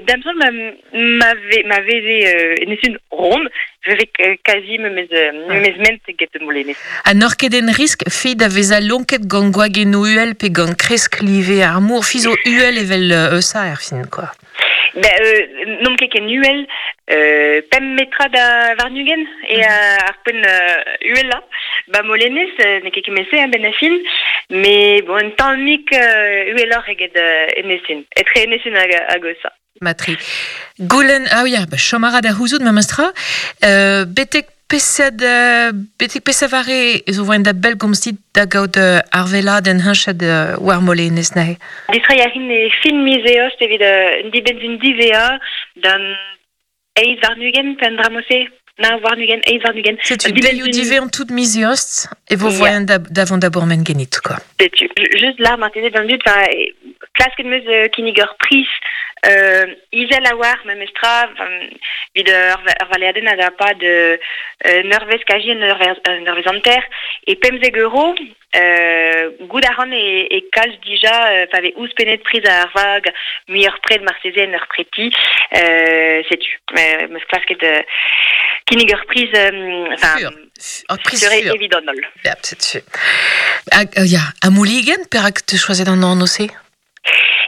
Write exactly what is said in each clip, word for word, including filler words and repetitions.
Damson ma ma ve ma veze euh, enesun rond, veve quasi me mez me mez ment get Molenez. Ha n'or ket en risk fi da veza lonket gant gwagennoù uhel pe gant kresk live ar mor fi zo uhel evel euh, eusa er fin, quoi. Ben, euh, n'om ket ken uhel, euh, pemp metra da varnugen e mm -hmm. ar poent euh, uhel la. Ba Molenez, euh, ne ket kemese hein, ben a fin, mais bon, un tammik euh, uheloc'h eget euh, enesun, etre enesun hag, hag eusa. Matri. Goulen, ah oui, ba, chomara da houzout ma mastra, euh, betek pesad, euh, betek pesavare zo voen da bel gomzit da gaout euh, ar vela den hinched euh, war Molenez nahe. Distrai a rin e fin mizeost evit euh, un dibenzun divea dan eiz varnugen pen dramose. Na varnugen, eiz varnugen. Setu deioù dive an tout mizeost e vo voen da, davant da bourmen genit, quoi. Setu, just là, marteze dan dud, enfin, klasket meus euh, kinnig ur pris euh, izel a war memestra, vid ur, ur valeaden a da pa de euh, neurvez kaji un neurvez anter, e pemzeg euro, euh, gout a ran e, e kalz dija, euh, pa ve ouz penet priz ar vag, mui ur pred marteze en ur preti, euh, setu, meus klasket euh, kinnig ur priz, enfin, Ur priz fur. Evidon ol. Ja, setu. Hag, euh, ya, a mouligen, perak te choazet an an ose?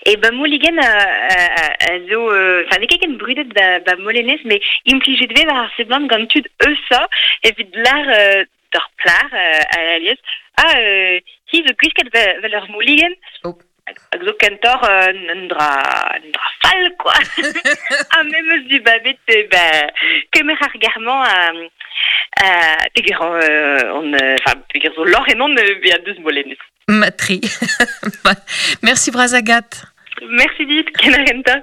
E ba Mouligen a, a, a, a zo, enfin, euh, ket ken brudet ba, ba Molenez, mais implijet ve war ar seblant gant tud eusa, evit lar euh, d'ur plar euh, a alies, ah, euh, hi zo gwisket vel ur Mouligen. Oh. Hag zo kentor euh, un dra, un dra fall, quoi. Ha memes du babet, ba, kemer ar garman a, a, peger euh, on, enfin, peger zo lor enon euh, a deus Molenez. Matri. Merci Brazagat. Merci dit, kenarenta.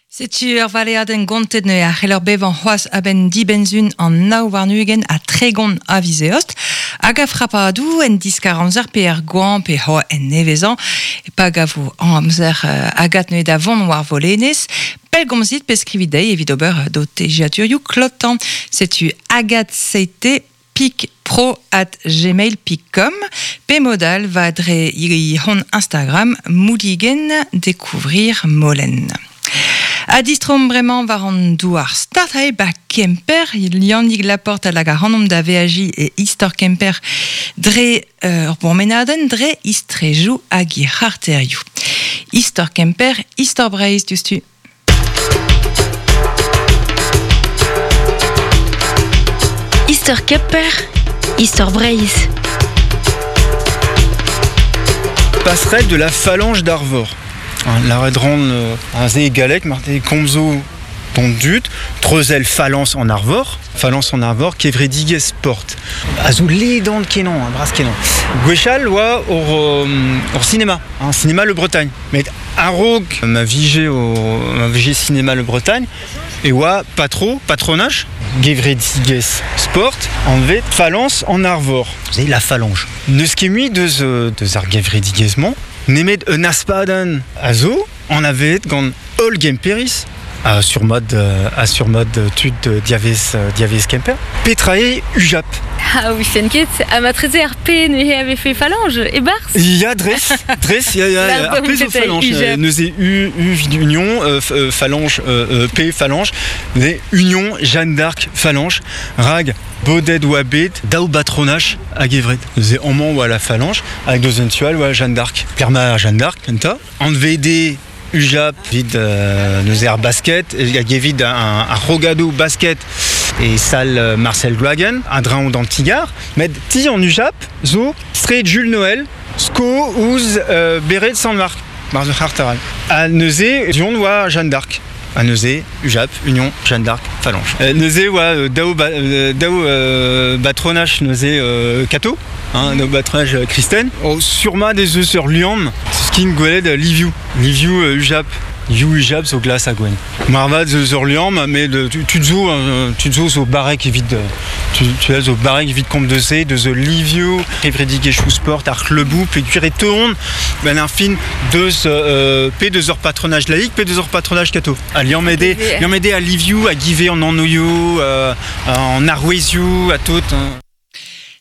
Setu ur valeadenn gontet ne a c'heller bevañ c'hoazh a-benn dibenzun an nav warn-ugent a tregont a vizeost, hag a frapadou en diskar amzer pe er gwan pe ho en nevezan, e pa gavo an amzer euh, agat ne da vont war volenez, pellgomzit pe skrivit dezhi evit ober do tegiaturioù klotan. Setu agat seite pik pro at gmail pik com, pe modal va dre i hon Instagram mouligen découvrir Molen. A distrom bremañ war an douar start hae ba Kemper, Yannick Laporte a lag a ranomp da V A J e Istor Kemper dre ur euh, bourmenadenn dre istrejou hag i c'harterioù. Istor Kemper, Istor Breizh diouzhtu. Istor Kemper, Istor Breizh. Passerelle de la phalange d'Arvor. La redran un ze galek marte komzo ton dut, treuzel phalanx en Arvor, phalanx en Arvor, kevredigez sport. A zo ledan kenan, a bras kenan. Gwechal oa ur, ur cinéma, un cinéma Le Bretagne. Met a-raok ma vije o ma vije cinéma Le Bretagne, e oa patro, patronage, gevredigez sport, anvet phalanx en Arvor. Vous avez la phalange. N'eus ket mui deus, deus ar gevredigezh-mañ, nemet un aspadenn a zo, an avet gant holl Gemperis, a surmod, a surmod tud diavez, diavez Kemper. Petra eo Ujap. Ah oui, ket, a ma treze ar P neuze avait fait phalange, e barz. Ya, dres, dres, ya, ya, ar P zo phalange. Neuze U, U vid Union, euh, phalange, euh, P phalange, neuze Union, Jeanne d'Arc, phalange, rag, Bodet oa bet, daou batronach hag evret. Neuze amañ oa la phalange, hag deus un tual oa Jeanne d'Arc. Perma Jeanne d'Arc, kenta. An V D, Ujap, vid euh, neuze ar basket, hag evit un, un rogado basket e salle Marcel Gloagen, un draon d'Antigar, met ti an Ujap zo street Jules Noël, sko ouz euh, beret Sant-Marc, mar zo c'hartaral. A neuze, dion oa Jeanne d'Arc. A neuze, Ujap, Union, Jeanne d'Arc, Phalange. Euh, neuze oa daou, ba, daou euh, batronach neuze euh, kato, hein, daou batronach euh, Kristen. Oh, surma des eus ur liamm, skin gwelet Liviu, Liviu euh, Ujap. Liviu Ujap zo glas a gwen. Marvad eus ur liamm, met tu zo, tu zo zo barek evit, tu, tu as zo barek evit komp de se, deus Liviu, kevredigezhioù sport, ar c'hleubou, pe gwir e teont, ben ar fin deus euh, pe deus ur patronage laïque, pe deus ur patronage kato. A liamm ede, liamm ede a Liviu, a give an anoioù, euh, an arouezioù, a tout. Hein.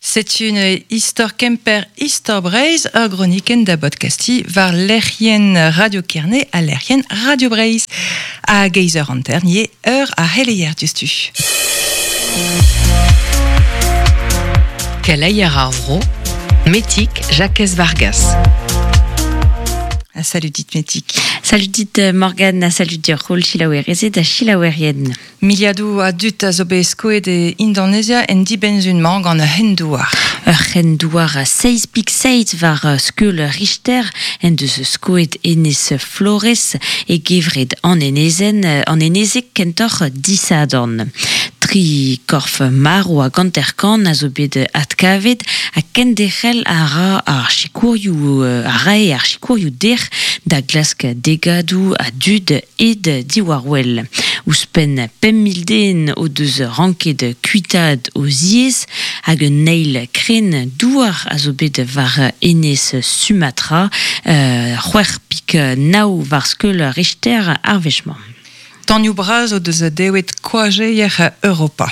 C'est une Istor Kemper Istor Breizh ur groniken da podcasti war lec'hien Radio Kerne a lec'hien Radio Breizh. A geizer an ternier ur a heleier dustu. Keleier ar vro, Metik Jacques Vargas. Salut dit Metik. Salut dit Morgane, salut dir rol chilaouerezed da chilaouerien. Miliadou a dut a zo bet skoet e Indonezia en dibenzun mañ gant ur c'hendouar. Ur c'hendouar a seiz pik seiz war skeul Richter en deus skoet enez Flores e gevred an enezen, an enezek kentoc'h disadorn. Tri korf maro a ganterkan a zo bet atkavet a kenderc'hel a ra ar chikourioù a rae ar chikourioù der da glask degadou a dud ed diwarwell. Ouzhpenn pemp mil den o deus ranket kuitaat o ziez hag un eil kren douar a zo bet war enez Sumatra, euh, c'hwec'h pik nao war skeul Richter ar wechmañ. Tanioù bras o deus dewet koajeier Europa.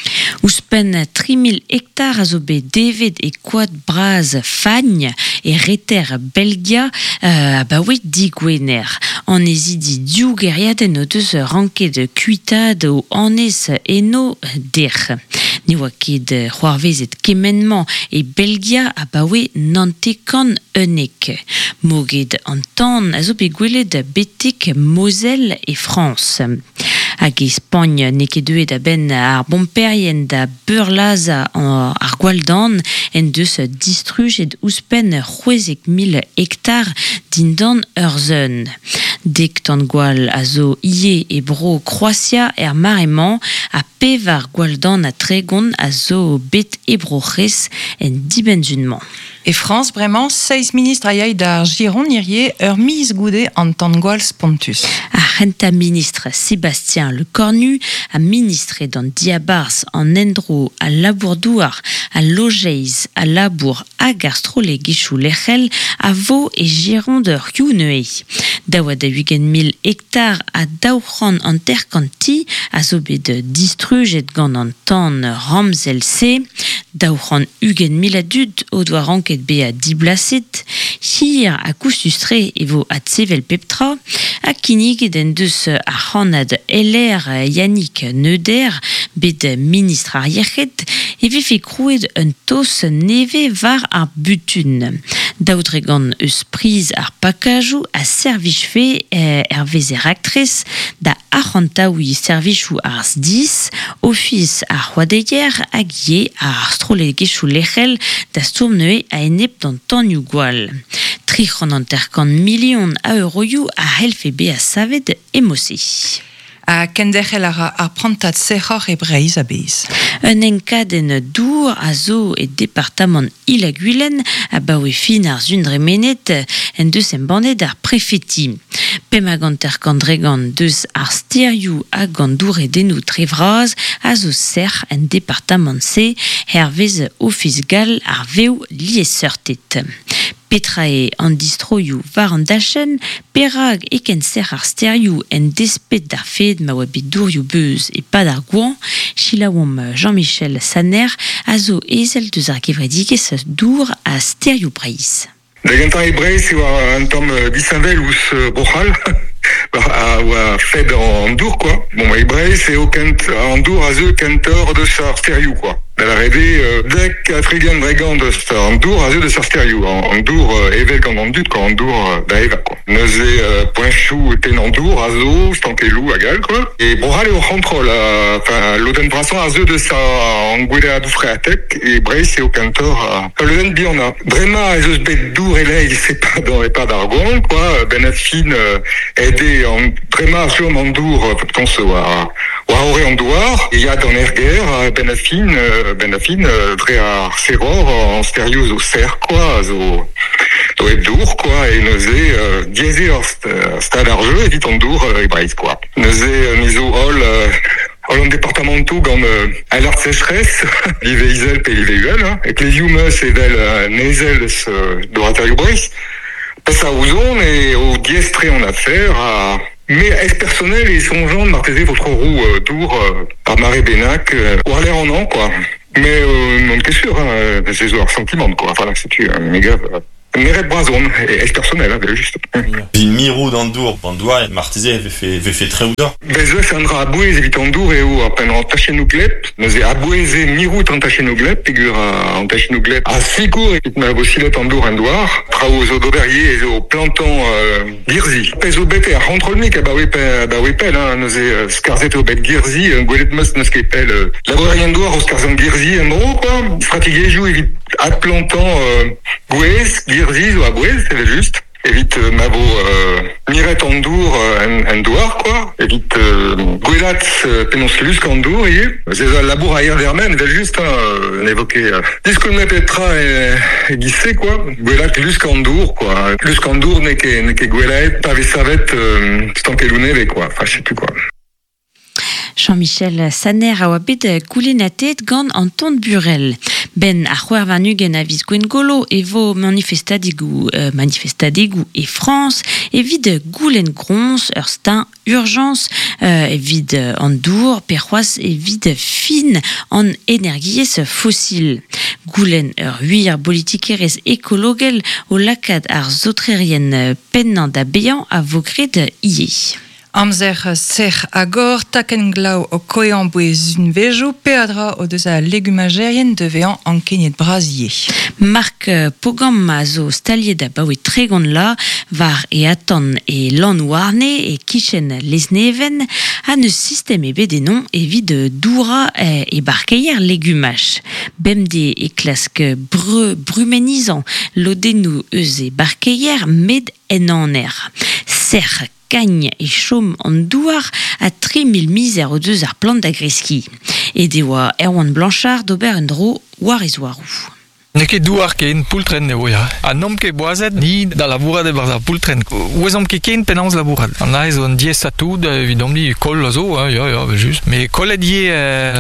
Ouzhpenn tri mil hektar a zo bet devet e koad bras Fagn e reter Belgia euh, abaoe digwener. An ezidi div geriadenn o deus ranket kuitaat o anez eno der. Ne oa ket c'hoarvezet kement-mañ e Belgia abaoe nantekan unnek. Moged an tan a zo bet gwelet betek Moselle e Frañs. Hag e Spagn n'eo ket deuet a-benn ar bomperien da beurlaza ar gwalldan en deus distrujet ouzhpenn c'hwezek mil hektar dindan ur zeun. Dek tan gwall a zo ie e bro Kroatia er mare-mañ ha pevar gwalldan a tregont a zo bet e bro C'hrez en dibenzun-mañ. E Frañs bremañ, seiz ministr a yay d'ar Giron hirie ur miz goude an tan gwall spontus. Ar c'hentañ ministr Sébastien Lecornu a ministre d'an diabarzh an endro a labour-douar a lojeiz a labour hag ar strolegezhioù lec'hel a vo e Gironde ur youneué. Daou ha daou-ugent mil hektar a daou c'hant hanter-kant ti a zo bet distrujet gant an tan ramzel-se. Daou c'hant ugent mil a dud o doa ranket bezañ diblaset, hir ha koustus-tre e vo adsevel pep tra, ha kinniget en deus ar c'hannad L R Yannick Neuder, bet ministr ar yec'hed, e vefe krouet un tos nevez war ar butun. Daou dregant eus priz ar pakajoù a servijfe hervez er raktres da arc'hantaouiñ servijoù ar S D I S, ofis ar c'hoadeier hag ivez ar strolegezhioù lec'hel da stourm neuze a-enep d'an tanioù gwall. Tri c'hant hanter-kant milion a euroioù a c'hellfe bezañ savet e Mose. A kenderc'hel a ra ar prantad sec'hoc'h e Breizh a-bezh. Un enkadenn dour a zo e departamant Il-ha-Gwilen abaoe fin ar sundremenet en deus embannet ar prefeti. Pemp hag hanter-kant dregant deus ar sterioù hag an douredennoù tre vras a zo sec'h en departamant-se hervez Ofis gall ar vev liesseurted. Petra eo an distroioù war an dachenn, perak e ken sec'h ar sterioù en despet d'ar fed ma oa bet dourioù beuz e pad ar gouan, chilaouomp Jean-Michel Saner a zo ezel deus ar gevredigezh dour a sterioù Breizh. Da gentañ e Breizh e oa un tamm disheñvel ouzh Bro-C'hall, a oa fed an dour, quoi. Bon, e Breizh eo kent an dour a zeu kentoc'h deus ar sterioù, quoi. Da la rede, dek a tregont dregant deus an dour a zeu deus ar sterioù, an dour evel gant an dud, quoi, an dour da eva, quoi. Neuze poenchoù ten an dour a zo, stankelloù hag all, quoi. E Bro-C'hall eo c'hontrol, enfin, lodenn brasañ a zeu deus an gweleadoù freatek, e Breizh eo kentoc'h lodenn bihan. Bremañ ez eus bet dour e-leizh e pad e pad ar goañv, quoi, ben a fin aet an bremañ chom an dour, pense war war ore an douar, e ya d'an erger, ben a fin, ben a fin, dre ar serror an sterioù zo serr, quoi, zo zo hep dour, quoi, e neuze diaes eo ar stad ar jeu evit an dour e Breizh, quoi. Neuze ni zo holl holl an departamentoù gant alert sécheresse, live izel pe live uhel, hein, e klevioù meus evel nezel eus doraterioù Breizh. Pas a ouzon e o diestre an afer a... Mais est personnel e soñjan marteze votre roue euh, dour euh, ar mare bennak euh, war l'air an an, quoi. Mais euh, non ket sûr, hein, c'est zo ar sentiment, quoi. Enfin, setu, me gav... Meret brazon, e personnel, hein, juste. Vi mirou d'an dour, an douar, marteze vefe, vefe tre oudor. Bez eus an dra abouez evit an dour eo a pen an tachennou gleb, neuze abouez e mirout an tachennou gleb, pegur an tachennou gleb a sikour evit ma vo silet an dour an douar, traoù zo d'ober zo plantan euh, girzi. Pez zo bet e ar c'hontrolmik a ba oe pel, hein, neuze skarzet eo bet girzi, gwelet meus neus ket pel labourerien douar o skarzan girzi en dro, quoi. Strategiezhioù evit adplantan euh, gwez, girzi zo a gwez, c'est juste. Evit euh, ma vo euh, miret an dour euh, en, en douar, quoi. Evit euh, gwelat euh, penaos lusk an dour, ivez. C'est un labour a ir vermen, vel juste, hein, euh, évoqué. Euh, Diskoulmet petra e, e gisse, quoi. Gwelat lusk an dour, quoi. Lusk an dour ne ket, ne ket gwelaet pa vez savet euh, stankelou neve, quoi. Enfin, je sais plus, quoi. Jean-Michel Saner a oa bet goulennatet gant Anton Burel. Ben ar c'hwec'h warn-ugent a viz Gwengolo e vo manifestadegou, euh, manifestadegou e France evit goulenn groñs ur stein urgence euh, evit an dour pe c'hoazh evit fin an energiezh fosil. Goulenn ur huir politikerezh ekologel o lakaat ar zotrerien pennañ da bezañ a vo graet ivez. Amzer ser agor, taken glav o koean bouez unvejo, peadra o deus a legumagerien de vean ankenet brazier. Marc Pogam a zo staliet a baoe tregont la, var e atan e lanouarne e kichen lesneven, a neus sistem ebet enon evit doura e barkeier legumach. Bemde e klask bre, brumenizan lodennou eus e barkeier med en aner. Ser kagn e chom an douar a tri mil mizer o deus ar plant da greski. E deoa Erwan Blanchard d'ober un dro war e zoarou. Ne ket douar ken poultren eo ya. A n'omp ket boazet ni da labourat e-barzh ar poultren. Ouezomp ket ken penaos labourat. An aez an diez a tout, evidomp ni kol a zo, hein, ya, ya, just. Mais kollet ivez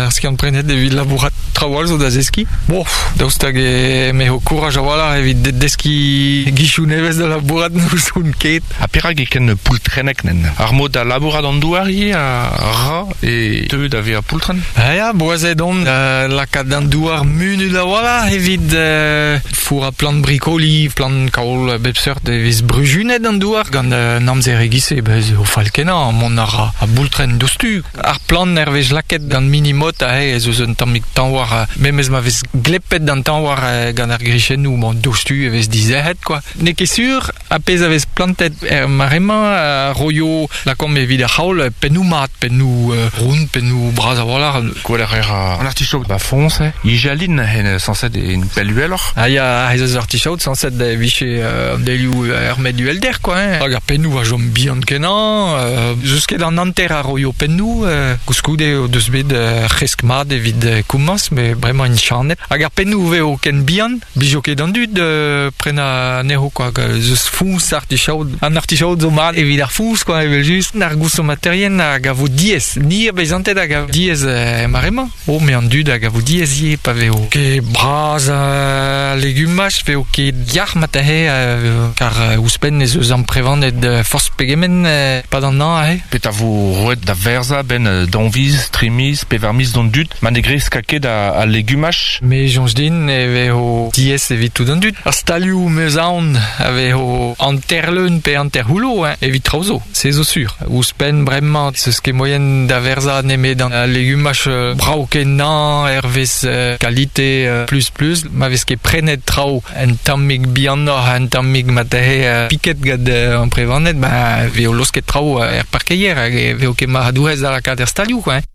ar skiant prenet evit labourat traoù zo da zeski. Bon, daoust hag e me ho kouraj a-walc'h evit deski gichou nevez da labourat n'ouzon ket. Ha perak e ken poultrenek nen. Ar mod da labourat an douar ivez a ra e teu da vezañ poultren. Ha ya, boazet on euh, lakaat an douar munut a-walc'h evit Euh, four a plant brikoli, plant kaol bep seurt e vez brujunet an douar gant euh, namzer egise, bez o fall kenañ, mont ar a boultren dostu. Ar plant er vez laket gant minimot a he, ez eus un tammig tañwar, memez ma vez glepet d'an tañwar gant ar grichennoù, bon, dostu e vez dizerc'het, quoi. N'eo ket sur, a pezh a vez plantet er maremañ, a roio lakomp evit ar c'haol, pennoù mat, pennoù euh, round, pennoù bras a-walc'h. Gweler er an artichaut ba foñs, eh? Ijalin hen sañset en pell uheloc'h. Ah ya, ez eus artichaut sañset da vije euh, delioù er med uhelder, quoi, hein. Hag ar pennoù a chom bihan kenañ, euh, zeus ket an hanter a roio pennoù, euh, koulskoude o deus bet euh, c'hresk mat evit euh, komañs, mais bremañ int chanet. Hag ar pennoù veo ken bihan, blijo ket an dud euh, prenañ anezho, quoi. Zeus foñs artichaut, an artichaut zo mat evit ar foñs, quoi, evel just. Ar gousomaterien hag a vo diaes, ni a bezantet hag a diaes euh, maremañ. Oh, mais an dud hag a vo diaes ivez, pa veo ket bras euh, legumaj, veo ket yac'h matahe, euh, kar euh, ouzhpenn ez eus amprevanet euh, forzh pegement euh, pad an an ahe. Pet a vo roet da verza ben euh, danviz, trimiz, pevarmiz d'an dud, ma ne gresk ket a, a legumaj. Me soñj din e vezo diaes evit tout an dud. Ar stalioù meus aon a vezo hanterleun pe hanterc'houllo, hein, evit traoù zo, se zo sur. Ouzhpenn bremañ, zeus ket moien da verza nemet an legumaj euh, brav kenañ, hervez euh, kalite euh, plus plus, ma vez ket prenet traoù un tammig bihanoc'h, un tammig matahe euh, piket gant euh, amprevanet, ba veo losket traoù euh, er parkeier, hag e veo ket marc'hadourez da lakaat er stalioù, quoi, hein.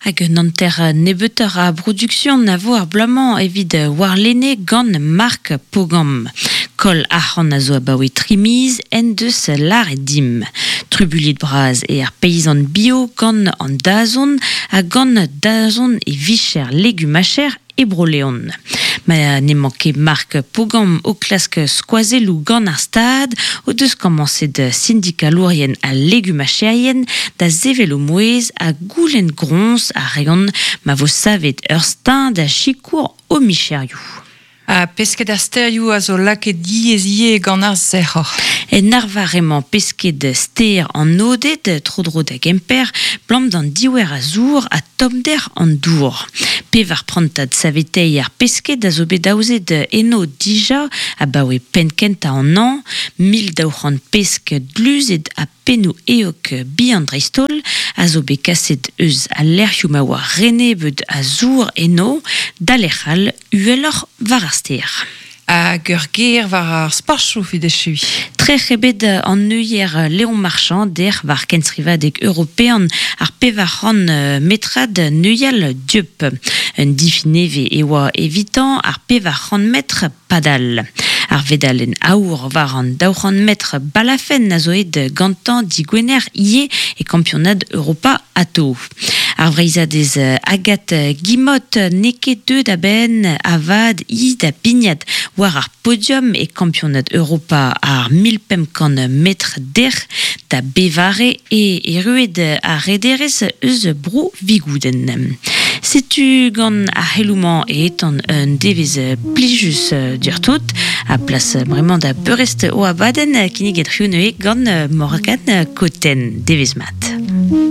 Hag un hanter nebeuter a production a vo ar bloaz-mañ evit warlene gant Marc Pogam. Kol arc'hant a zo abaoe trimiz en deus lar e dim. Trubuliet braz e ar paysan bio gant an dazon ha gant dazon e vicher legumacher e Bro-Leon. Ma n'emañ ket Marc Pogam o klask skoazelloù gant ar stad o deus komañset sindikalourien ha legumacherien da sevel o mouezh ha goulenn groñs a reont ma vo savet ur stein da sikour o micherioù. A pesket ar sterioù a zo lakaet diaes ivez gant ar sec'hor. En arvar emañ pesket ster an Oded, tro-dro da Gemper, blam d'an diouer a zour ha tomder an dour. Pevar prantad savetei ar pesket a zo bet daouzet eno dija a baoe penkenta an an, mil daou c'hant pesk dluzet a pennou eok bihan dreistol a zo bet kaset eus a lec'hioù ma oa renebet a zour eno, da lec'hal uheloc'h war ar stêr. Hag ur ger war ar sportchoù evit echuiñ. Trec'h ebet an neuier Léon Marchand der war kenstrivadeg european ar pevar c'hant metrad neuial dieub. Un difi nevez e oa evitan ar pevar c'hant metr padal. Ar vedalen aour war an daou c'hant metr balafen a zo aet gantañ digwener ivez e kampionad Europa ato. Ar vreizhadez Agathe Guillemot n'eo ket deuet a-benn avat hi da bignat war ar podium e kampionad Europa ar mil pemp kant metr dec'h da bevare e erruet ar rederez eus bro Vigoudenn. Setu gant ar c'heloù-mañ e etan un devezh plijus diortout a plas bremañ da beurrest o abadenn kinniget c'hiv neuze gant Morgane Cotten. Devezh mat.